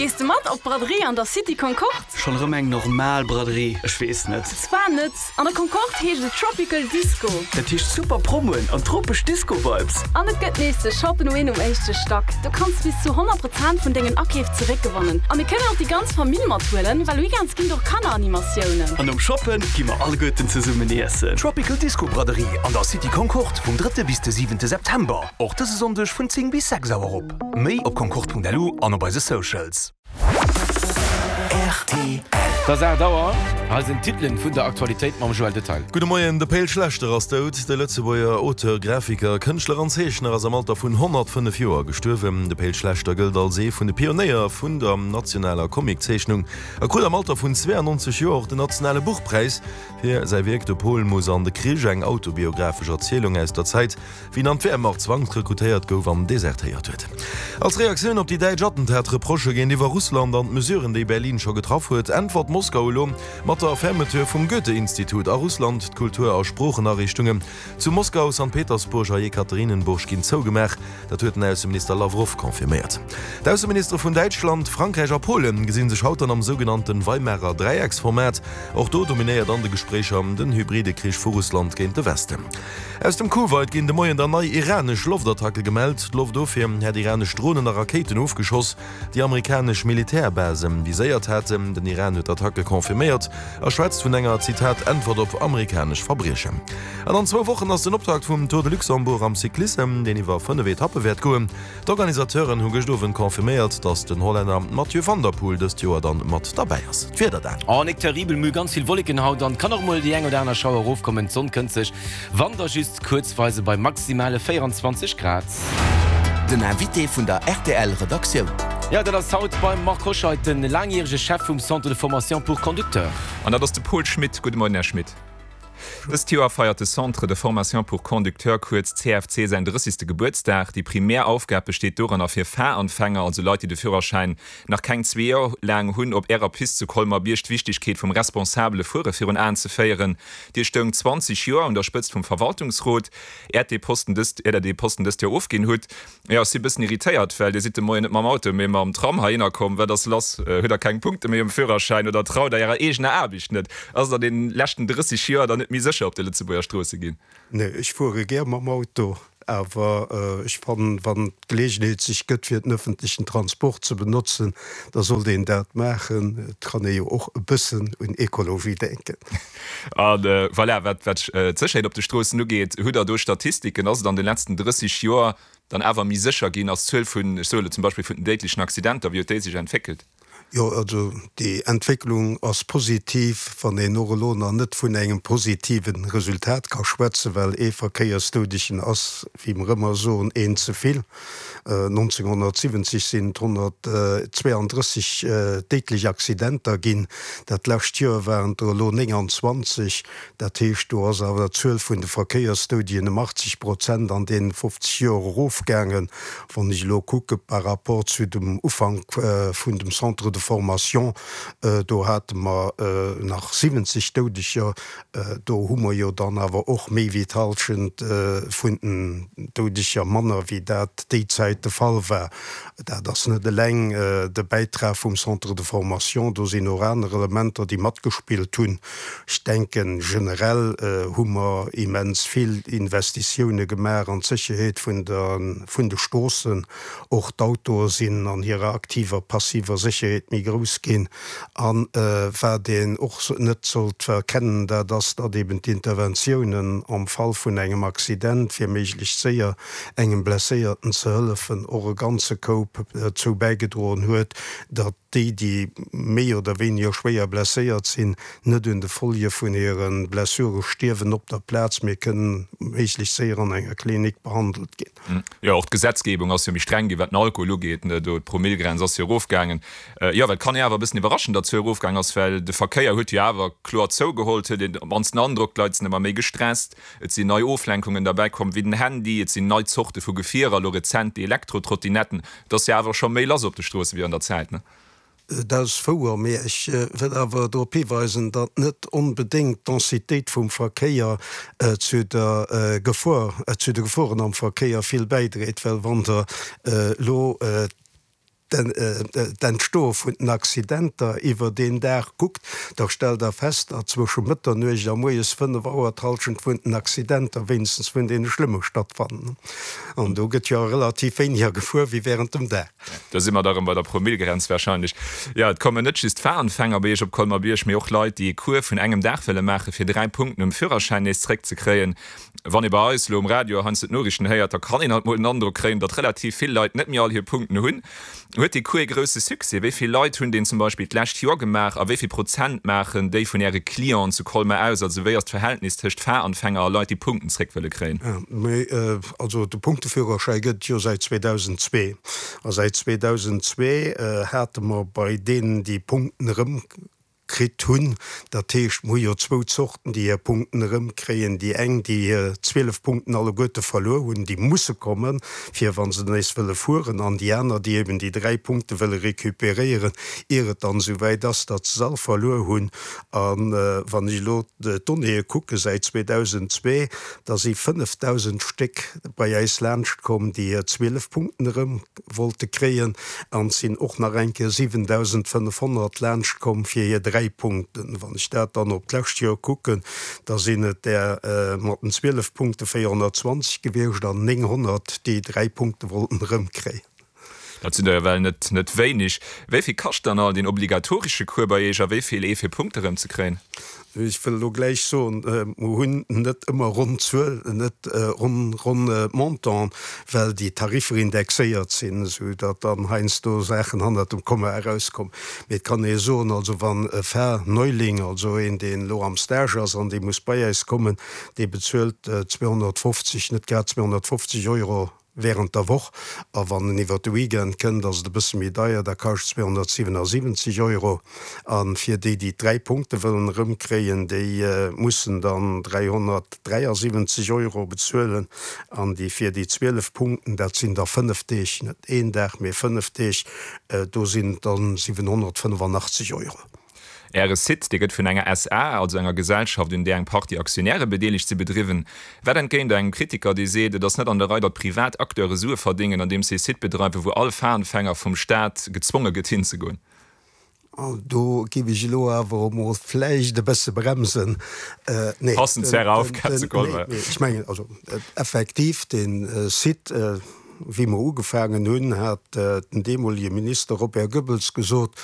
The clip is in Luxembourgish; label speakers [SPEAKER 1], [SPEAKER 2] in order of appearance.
[SPEAKER 1] Gees de mat op d'Braderie an der City Concorde?
[SPEAKER 2] Schonn erëm eng normal Braderie? Ech weess net.
[SPEAKER 1] Zwar net. An der Concorde heescht et Tropical Disco.
[SPEAKER 2] Dat heescht super Promoen an tropesch Disco-Vibes.
[SPEAKER 1] An et gëtt nees de Shop and Win um éischte Stack. Do kanns de bis zu 100 Prozent vun dengen Akeef zeréckgewannen. A mir kënnen och déi ganz Famill mathuelen, well weekends ginn et och Kanneranimatiounen.
[SPEAKER 2] An nom Shoppen gi mer alleguerten zesummen iessen.
[SPEAKER 3] Tropical Disco Braderie an der City Concorde vum drëtte bis de siwente September. Och dëse Sonndeg vun 10 bis 6 Auer op. Méi op concorde.lu an op eise Socials.
[SPEAKER 4] Rtl. Et ass 8 Auer, hei sinn d'Titelen vun der Aktualitéit mam Joël Detail.
[SPEAKER 5] Gudde Moien, De Pe'l Schlechter ass dout. De Lëtzebuerger Auteur, Grafiker, Kënschtler an Zeechner ass am Alter vun 105 Joer gestuerwen. De Pe'l Schlechter gëllt als ee vun de Pionéier vun der nationaler Comiczeechnung a krut am Alter vun 92 Joer och den nationale Buchpräis fir säi Wierk De Pol muss an de Krich, eng autobiographesch Erzielung aus der Zäit, wéi en an d'Wehrmacht zwangsrekrutéiert gouf an desertéiert huet. Als Reaktioun op déi däitsch Attentat-Reprochë géintiwwer Russland an d'Mesuren, déi Berlin scho getraff huet, äntwert Moskau elo mat der Fermeture vum Goethe-Institut a Russland. D'Kultur a Sproochenariichtungen zu Moskau, Sankt Petersburg a Jekaterinenburg ginn zougemaach. Dat huet den Ausseminister Lawrow confirméiert. D'Ausseministere vun Däitschland, Frankräich a Polen gesi sech haut dann am sougenannte Weimarer Dräiecksformat. Och do dominéiert an de Gespréicher den hybride Krich vu Russland géint de Westen. Aus dem Kuwait ginn de Moien dann nei iranesch Loftattacke gemellt. D'Loftofwier hätt iranesch Dronen a Rakéiten ofgeschoss, déi amerikanesch Militärbase viséiert haten. Den Iran huet d'Attacke confirméiert a schwätzt vun enger, Zitat, Äntwert op amerikanesch Verbriechen. An an zwou Wochen ass den Optakt vum Tour de Luxembourg am Cyclissem, deen iwwer 5 Etappe wäert goen. D'Organisateuren hu gëscht Owend confirméiert, datt den Hollänner Mathieu van der Poel dëst Joer dann mat derbäi ass. D'Wieder
[SPEAKER 4] dan. Oh, nik terribel, mir hu ganz vill Wolleken haut an kann och mol déi eng oder aner Schauer erofkommen. D'Sonn kënnt sech, wann da just kuerzweise bei maximale 24 Grad.
[SPEAKER 3] Den Invité vun der rtl Redaktioun.
[SPEAKER 4] Jo, dat ass haut beim Marc Hoscheid, den laangjärege Chef vum Centre de formation pour conducteurs.
[SPEAKER 6] An dat ass de Paul Schmit. Gudde Moien, Här Schmit. Dëst Joer feiert de Centre de formation pour conducteurs, kuerz CFC, säin drëssigste Gebuertsdag. Déi primär Aufgab besteet doranner, fir Fahranfänger, also Leit, déi de Führerschäin nach keng zwee Joer laang hunn, op Ärer Pist zu Colmer-Bierg d'Wichtigkeet vum responsabele Fuere virun Aen ze féieren. Dir stoungt 20 Joer un der Spëtzt vum Verwaltungsrot, äert dee Posten dëst, ier Der dee Posten dëst Joer ofginn hutt. Jo, ech si bëssen irritéiert, well Dir sidd de Moien net mam Auto, mee mam Tram heihinner komm. Wat ass lass? Hutt Der keng Punkte méi um Führerschäin oder traut Der Ärer eegener Aarbecht net? Ass et an deenen leschten 30 Joer dann net méi sécher op de Lëtzebuerger Stroosse ginn?
[SPEAKER 7] Nee, ech fuere gär mam Auto, awer ech fannen, wann d'Geleegenheet sech gëtt, fir den öffentlichen Transport ze benotzen, da sollt een dat maachen. Et kann ee jo och e bëssen un Ekologie denken.
[SPEAKER 6] A voilà, wat d'Sécherheet op de Stroossen ugeet, hutt Der do Statistiken? Ass et an de letzten 30 Joer dann awer méi sécher ginn? Ass d'Zuel vun, ech soe elo zum Beispill vun den déidlechen Accidenter, wéi huet déi sech entwéckelt?
[SPEAKER 7] Jo, also déi Entwécklung ass positiv, wann een och elo nach net vun engem positive Resultat ka schwätzen, well ee Verkéiersdoudegen ass, wéi mer ëmmer soen, een ze vill. 1970 sinn et 132 déidlech Accidenter ginn, dat lescht Joer waren et der elo 29. Dat heescht, do ass awer d'Zuel vun de Verkéiersdoudegen ëm 80 Prozent an deenen 50 Joer erofgaangen. Wann ech elo kucke par rapport zu dem Ufank vun dem Centre de formation, do hate mer nach 70 Doudeger. Do hu mer jo dann awer och méi wéi d'Hallschent vun den Doudeger manner, wéi dat déi Zäit de Fall war. Dat ass net eleng de Bäitrag vum Centre de formation, do sinn och aner Elementer, déi matgespillt hunn. Ech denken, generell hu mer immens vill Investitioune gemaach an d'Sécherheet vun de Stroossen. Och d'Autoe sinn an hirer aktiver, passiver Sécherheet méi grouss ginn. A wat een och net sollt verkennen, dat ass, datt eben d'Interventiounen am Fall vun engem Accident, fir méiglechst séier engem Blesséierten ze hëllefen, och e ganze Koup dozou bäigedroen huet, datt déi, déi méi oder wéiniger schwéier blesséiert sinn, net un de Folge vun hire Blessure stierwen op der Plaz, mee kënnen méiglechst séier an enger Klinik behandelt ginn.
[SPEAKER 6] Jo, och d'Gesetzgebung ass jo méi streng ginn, wat den Alkohol ugeet. Do d'Promillgrenz ass jo erofgaangen. Jo, well et kann ee awer e bëssen iwwerraschen, datt d'Zuel erofgaangen ass, well de Verkéier huet jo awer kloer zougeholl. Et huet een op d'mannst den Androck, d'Leit sinn ëmmer méi gestresst, et sinn nei Oflenkungen derbäi komm, wéi den Handy, et sinn nei Zorte vu Gefierer, elo rezent déi Elektrotrottinetten. Et ass jo awer scho méi lass op de Stroosse wéi an der Zäit, ne?
[SPEAKER 7] Dat ass wouer, mee ech wëll awer drop hiweisen, datt net onbedéngt d'Densitéit vum Verkéier zu der Gefor, zu de Geforen am Verkéier vill bäidréit, well wann Der elo. d'Entstoe vun den Accidenter iwwer een Dag kuckt, da stellt Der fest, datt zwësche Mëtternuecht a moies 5 Auer d'Hallschent vun den Accidenter, wéinstens vun deene schlëmme, stattfannen. An do gëtt jo relativ wéiniger gefuer wéi während dem Dag.
[SPEAKER 6] Do si mer da rëm bei der Promillgrenz wahrscheinlech. Jo, et kommen net just Fahranfänger bei Iech op Colmer-Bierg, mee och Leit, déi ee Cours vun engem Dag wëlle maachen, fir 3 Punkten um Führerschäin nees zréckzekréien. Wann ee bei eis elo um Radio heiansdo d'Noriichten héiert, da kann een alt mol den Androck kréien, datt relativ vill Leit net méi all hir Punkten hunn. Huet dee Cours ee grousse Succès? Wéi vill Leit hunn deen zum Beispill d'lescht Joer gemaach a wéi vill Prozent maachen déi vun Äre Clienten zu Colmar aus? Also wéi ass d'Verhältnis tëscht Fahranfänger a Leit, déi Punkten zréck wëlle kréien?
[SPEAKER 7] Also de Punkteführerschäi gëtt et jo säit 2002. A säit 2002 hate mer bei deenen, déi Punkten erëm kritt hunn, dat heescht, mer hu jo zwou Zorten, déi hir Punkten erëmkréien, déi eng, déi hir 12 Punkten alleguerte verluer hunn, déi musse kommen, fir wa se nees wëlle fueren, an déi aner, déi eben déi dräi Punkte wëlle recuperéieren, ier et dann esou wäit ass, datt se se all verluer hunn. A wann ech elo d'Donnéeë kucke säit 2002, da si 5.000 Stéck bei äis laanscht komm, déi hir 12 Punkten erëm wollte kréien, an et sinn och nach eng Kéier 7.500 laanscht komm fir hir 3 Punkten. Wann ech dat dann op d'lescht Joer kucken, da sinn et där mat den 12 Punkte 420 gewiescht an 900, déi 3 Punkte wollten erëmkréien.
[SPEAKER 6] Dat sinn der jo well net net wéineg. Wéi vill kascht dann all deen obligatoresche Cours bei Iech a wéi vill ee fir Punkte rëm ze kréien?
[SPEAKER 7] Ech wëll elo gläich soen, mer hunn net ëmmer ronn Zuel, net ronn ronn Montanten, well déi Tariffer indexéiert sinn, esou datt dann heiansdo Saachen hannert dem Komma erauskommen. Mee et kann ee soen, also wann e Fahrneuling, also een deen elo am Stage ass an dee muss bei äis kommen, dee bezuelt 250, net grad 250 Euro Während der Woch, a wann en iwwer de Weekend kënnt, ass et e bësse méi deier, da kascht 277 Euro. A fir déi, déi d'dräi Punkte wëllen erëmkréien, déi mussen dann 373 Euro bezuelen. An déi fir déi 12 Punkten, dat sinn da fënnef Deeg, net een Dag, mee fënnef Deeg, do sinn et dann 785 Euro.
[SPEAKER 6] Äre Site, dee gëtt vun enger SA, also enger Gesellschaft, un där eng Partie Aktionäre bedeelegt si, bedriwwen. Wat entgéint engem Kritiker, dee seet, et ass net an der Rei, datt privat Acteure Sue verdéngen, andeems se e Site bedreiwen, wou all Fahanfänger vum Staat gezwonge gëtt hinzegoen?
[SPEAKER 7] Do géif ech elo awer emol vläicht e bësse bremsen.
[SPEAKER 6] Nee, Passend zu Ärer Aufgab zu Colmar.
[SPEAKER 7] Nee, ech mengen, also effektiv, dee Site, wéi mer ugefaangen hunn, hat den deemolege Minister Robert Goebbels gesot.